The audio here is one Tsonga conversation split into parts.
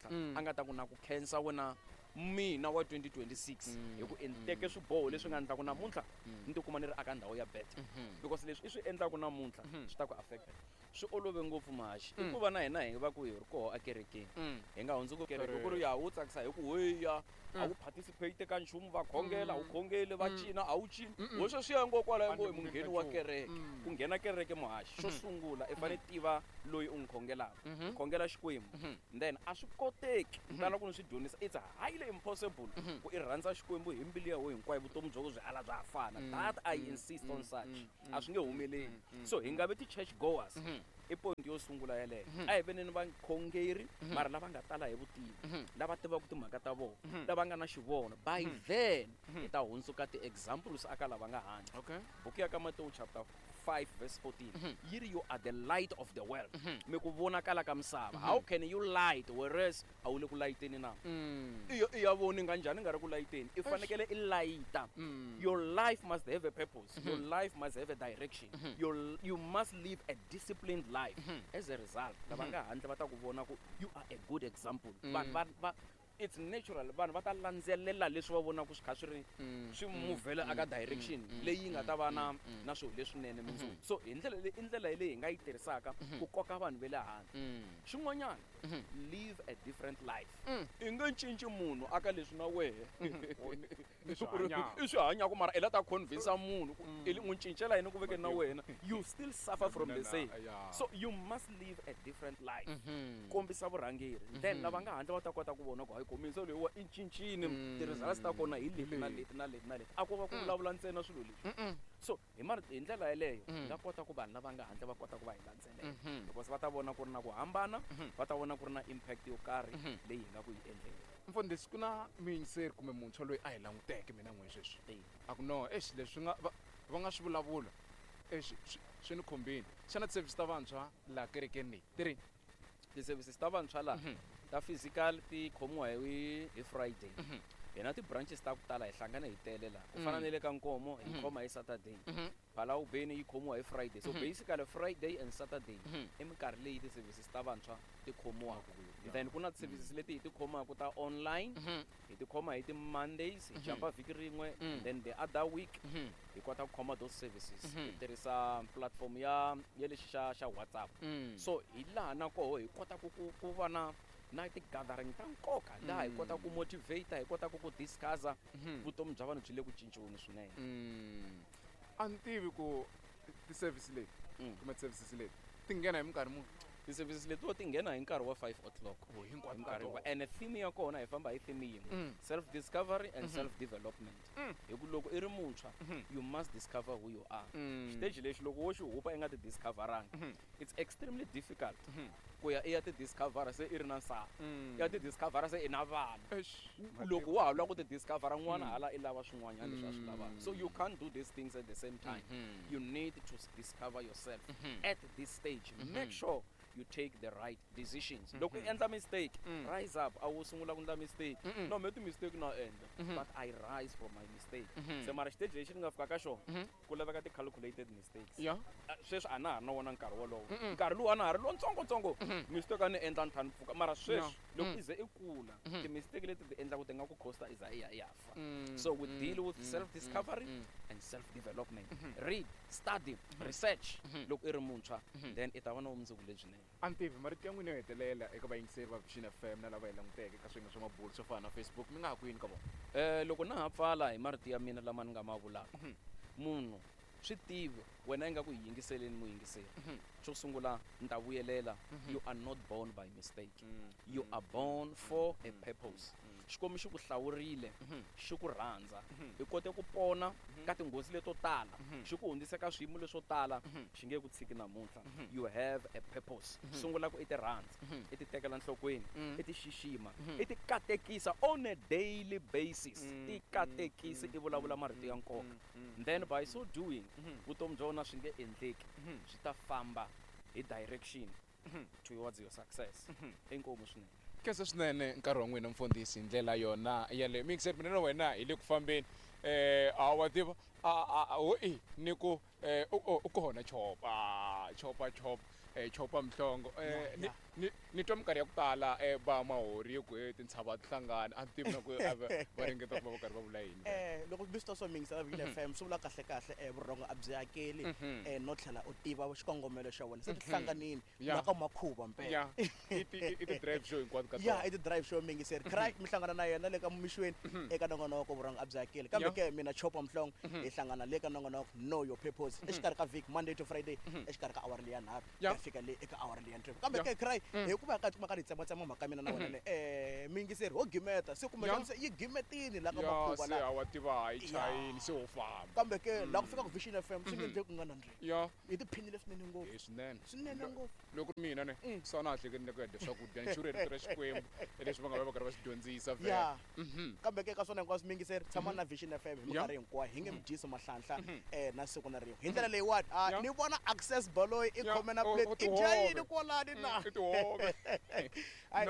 namuntlha a nga ta ku na ku khensa wena mina wa 2026 hi ku i teke swiboho leswi nga endlaku namuntlha ni tikuma ni ri aka ndhawu ya better, because leswi i swi endlaku namuntlha swi ta ku affecta. Swi olove ngopfu, Mahaxi, i ku va na hina hi va ku hi ri koho akerekeni, hi nga hundzuki kereke ku ri ya wu tsakisa hi ku weya a wu participate ka nchumu, va khongela a wu khongeli, va cina a wu cini, wo sweswiya ngo kwalaho ngo i mungheni wa kereke. Ku nghena kereke, Muhaxi, xo sungula i fanele tiva loyi u n'wi khongelaka, u khongela Xikwembu. Then a swi koteki, ni tala ku ni swi dyondzisa, it's highly impossible ku i rhandza Xikwembu hi mbilu ya wena hinkwayo, vutomi bya byi ala bya ha fana. That I insist on such, a swi nge humeleli. So hi nga vi ti-church goers, i point yo sungula yeleyo. A hi veneni vakhongeri, mara lava nga tala hi vutivi, lava tivaka timhaka ta vona, lava nga na xivono. By then hi ta hundzuka ti-examples aka lava nga handle. Buku ya ka Matewu chapter 5 verse 14 yi ri, "You are the light of the world," mi ku vonakala ka misava. How can you light whereas a wu le ku layiteni na? I ya voni nga njhani nga ri ku layiteni? I fanekele i layita. Your life must have a purpose, your life must have a direction, you must live a disciplined life. As a result, lava nga handle va ta ku vona ku you are a good example. Vanhu va, it's natural, vanhu va ta landzelela leswi va vonaka swi kha swi ri swi muvhela aka direction leyi nga ta va na swilo leswinene mundzuku. So hi ndlela leyi, i ndlela leyi hi nga yi tirhisaka ku koka vanhu va le handle. Xin'wanyana, live a different life. I nge cinci munhu aka leswi na wehe I swi hanyaka. I swi hanyaka, mara i la ta convince munhu ku i n'wi cincela yini ku vekeni na wena you still suffer from the same. So you must live a different life, kombisa vurhangeri, then lava nga handle va ta kota ku vona ku hayi, komisa loyiwa i cincini, ti-results ta kona hi leti na leti na leti na leti. A ko va ku vulavula ntsena swilo leswi. So hi hi ndlela yeleyo hi nga kota ku vanhu lava nga handle va kota ku va hi landzelela, because va ta vona ku ri na ku hambana, va ta vona ku ri na impact yo karhi leyi hi nga ku yi endleni. Mfundhisi, ku na muyingiseri kumbe muntshwa loyi a hi languteke mina n'we sweswi, a ku no, exi, leswi nga va nga swi vulavula, exi, swi ni khumbini. Xana ti-service ta vantshwa laha kerekeni leyi ti ri? Ti-services ta vantshwa laha ta physical ti khomiwa hi Friday. Hi na ti-branches ta ku tala, hi hlangana hi tele laha, ku fana na le ka Nkomo hi khoma hi Saturday, Phalawubeni yi khomiwa hi Friday. So basically Friday and Saturday i minkarhi leyi ti-services ta vantshwa ti khomiwaka. Then ku na ti-services leti hi ti khomaka ta online, hi ti khoma hi ti-Mondays, hi jumpa vhiki rin'we, then the other week hi kota ku khoma those services, hi tirhisa platform ya lexi xa WhatsApp. So hi laha na koho hi kota ku va na ti-gathering ta nkoka, laha hi kota ku motivate, hi kota ku discussa vutomi bya vanhu byi le ku cinciweni swinene. A ni tivi ku ti-service leti kumbe ti-services leti ti nghena hi minkarhi muni? Ti-services letiwa ti nghena hi nkarhi wa 5 o'clock. Oh, hinkwato Hi ka nkarhi tona. And theme ya kona, hi famba hi theme yin'we, self discovery and self development, hi ku loko i ri muntshwa you must discover who you are. Xiteji lexi loko wo xi hupa i nga ti discoveranga, it's extremely difficult ku ya i ya ti discovera se i ri na nsati, i ya ti discovera se i na vana. Eish. Loko wa ha lava ku ti discovera, n'wana hala i lava swin'wanyana leswi a swi lavaka. So you can't do these things at the same time. You need to discover yourself at this stage. Make sure you take the right decisions. Loko i endla mistake, rise up. A wu sungula ku endla mistake, no me ti-mistake na endla, but I rise from my mistake. Se mara xiteji lexi ni nga fika ka xona, ku laveka ti-calculated mistakes. Ah, sweswi a na ha ri na wona nkarhi wolowo. Nkarhi lowu a na ha ri lontsongotsongo, mistake a ni endla ni tlha ni pfuka, mara sweswi loko i ze i kula, ti-mistake leti ti endlaku ti nga ku costa i za i ya i ya fa. So we deal with self discovery and self development. Read, study, research loko i ri muntshwa, then i ta va na vumundzuku lebyinene. A ni tivi marito ya n'wina yo hetelela eka vayingiseri va Vision FM na lava hi languteke ka swiyenge swa mabulo swo fana na Facebook, mi nga ha ku yini ka vona? Loko na ha pfala hi marito ya mina lama ni nga ma vulaka, munhu swi tivi wena i nga ku hi yingiseleni, muyingiseri, xo sungula ni ta vuyelela, you are not born by mistake, you are born for a purpose. Xikwembu xi ku hlawurile, xi ku rhandza, i kote ku pona ka tinghozi leto tala, xi ku hundzise ka swiyimo leswo tala, xi nge ku tshiki namuntlha. You have a purpose. Sungula ku i ti rhandza, i ti tekela nhlokweni, i ti xixima, i ti katekisa on a daily basis. Ti katekisi, i vulavula marito ya nkoka. Then by so doing, vutomi bya wena swi nge endleki, swi ta famba hi direction towards your success. Inkomu swinene. Khensa swinene nkarhi wa n'wina, mfundhisi, hi ndlela yona yaleyo. Miyingiseri, mina na wena hi le ku fambeni. A wa tiva a ho i ni ku u kona Chopa, Chopa, Chopa, Chopa Mhlongo. Ni twa minkarhi ya ku tala va mahori ku tintshava ti hlangana, a ni tivi na ku va ringeta ku va va karhi va vula yini. Loko mi swi twa swo mingisela Vision FM swi vula kahle kahle vurhongo a byi hakeli, no tlhela u tiva xikongomelo xa wena, se ti hlanganini la ka makhuva mpela. I ti-drive show hinkwato ka ya i ti-drive show mingiseri cry mi hlangana na yena le ka mixweni eka nongonoko vurhongo a byi hakeli, kambe ke mina Chopa Mhlongo hi hlangana le ka nongonoko Know Your Purpose exikarhi ka vhiki Monday to Friday exikarhi ka awara leya 3 ya fika le eka awara leya 6, kambe ke cry hikuva ka tikuma ka ni tsematsema mhaka mina na wena le miyingiseri ho gimeta se kumbe se yi gimetini la ka makhuva la wa tiva hi chayini se ho famba, kambe ke la ku fika ku Vision FM swi nge endleki ku nga nandziki. Hi tiphinile swinene ngopfu, swinene swinene ngopfu. Loko mina ne sana hleketi ni ku ya dya swakudya ni xurhe rito ra Xikwembu leswi va nga va va karhi va swi dyondzisa vhele. Kambe ke ka swona hinkwaswo miyingiseri tshama na Vision FM hi minkarhi hinkwayo, hi nge mi dyisi mahlanhla na siku na rin'we. Hi ndlela leyiwani ni vona Access Baloyi i khome na plate i dya yini kwalani na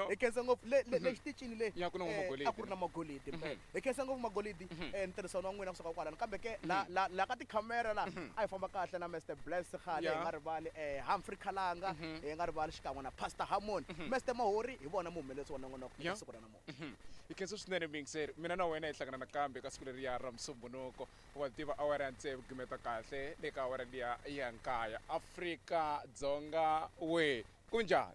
hi khensa ngopfu le le xitichini le a ku ri na magolidi mpela. Hi khensa ngopfu magolidi ntirhisano wa n'wina kusuka kwalano, kambe ke la la la ka tikhamera la a hi famba kahle na Mr Bless Khale, hi nga rivali Humphrey Khalanga, hi nga rivali xikan'we na Pastor Harmony, Mr Mahori hi vona muhumelerisi wa nongonoko eka siku ra namuntlha. Hi khensa swinene miyingiseri, mina na wena hi hlangana nakambe ka siku leriya ra Musumbhunuko, wa tiva awara ya 6 gimeta kahle le ka awara liya ya 9. Afrika Dzonga we kunjhani?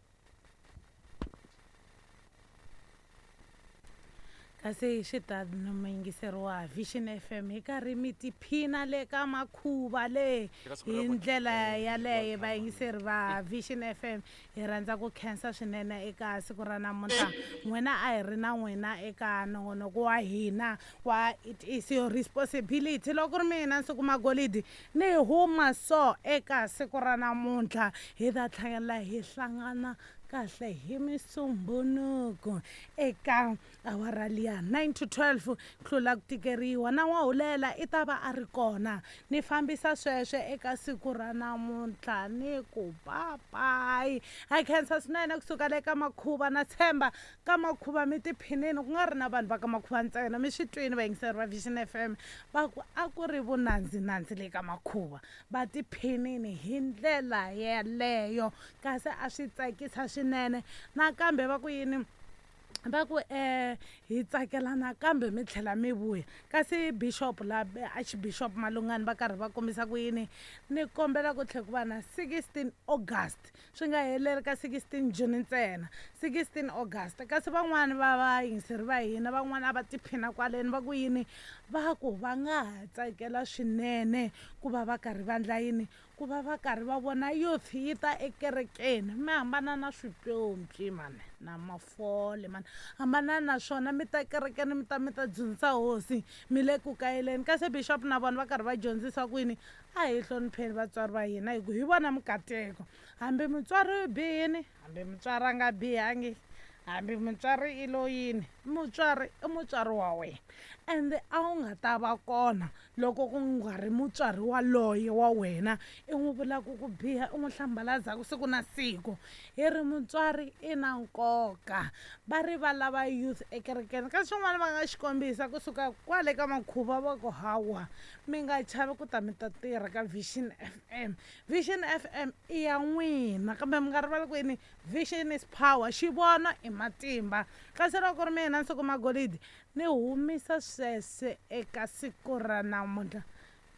Kasi swi ta muyingiseri wa Vision FM hi karhi mi tiphina le ka makhuva le hi ndlela yaleyo. Vayingiseri va Vision FM hi rhandza ku khensa swinene eka siku ra namuntlha, n'wina a hi ri na n'wina eka nongonoko wa hina wa It Is Your Responsibility. Loko ri mina Nsuku Magolidi ni huma so eka siku ra namuntlha, hi ta tlhela hi hlangana kahle hi Musumbhunuko eka awara liya 9 to 12 tlula ku tikeriwa na n'wahulela i ta va a ri kona. Ni fambisa sweswe eka siku ra namuntlha ni ku papayi. Ha khensa swinene kusuka le ka makhuva, na tshemba ka makhuva mi tiphinini, ku nga ri na vanhu va ka makhuva ntsena, mi swi twini vayingiseri va Vision FM va ku a ku ri vunandzinandzi le ka makhuva, va tiphinini hi ndlela yeleyo, kasi a swi tsakisa swinene. Nakambe va ku yini, va ku hi tsakela nakambe mi tlhela mi vuya. Kasi Bishop la Archbishop Malungani va karhi va kombisa ku yini, ni kombela ku tlhela ku va na 16 August, swi nga heleri ka 16 June ntsena, 16 August. Kasi van'wani va vayingiseri va hina van'wani a va tiphina kwaleni, va ku yini, va ku va nga ha tsakela swinene ku va va karhi va ndla yini, ku va va karhi va vona youth yi ta ekerekeni. Mi hambana na swipyompyi mani na mafole mani, hambana na swona, mi ta kerekeni mi ta dyondzisa hosi, mi le ku kayeleni. Kasi Bishop na vona va karhi va dyondzisa kwini, a hi hlonipheni vatswari va hina hi ku hi vona mikateko, hambi mutswari u bihini, hambi mutswari a nga bihangi, hambi mutswari i lo yini, mutswari i mutswari wa wena, ende a wu nga ta va kona loko ku nga ri mutswari waloye wa wena i n'wi vulaka ku biha, i n'wi hlambalazaku siku na siku. Hi ri mutswari i na nkoka, va ri va lava youth ekerekeni. Kasi swin'wana va nga xikombisa kusuka kwale ka makhuva va ku hawa, mi nga chavi ku ta mi ta tirha ka Vision FM. Vision FM i ya n'wina, kambe mi nga rivali ku yini, Vision is power, xivono i matimba. Kasi loko ri mina Nsuku Magolidi ni humisa sweswe eka siku ra namuntlha,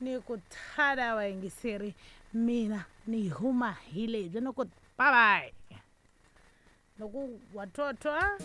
ni ku thala vayingiseri, mina ni huma hi lebyi, ni ku bye bye loko wa twatwa.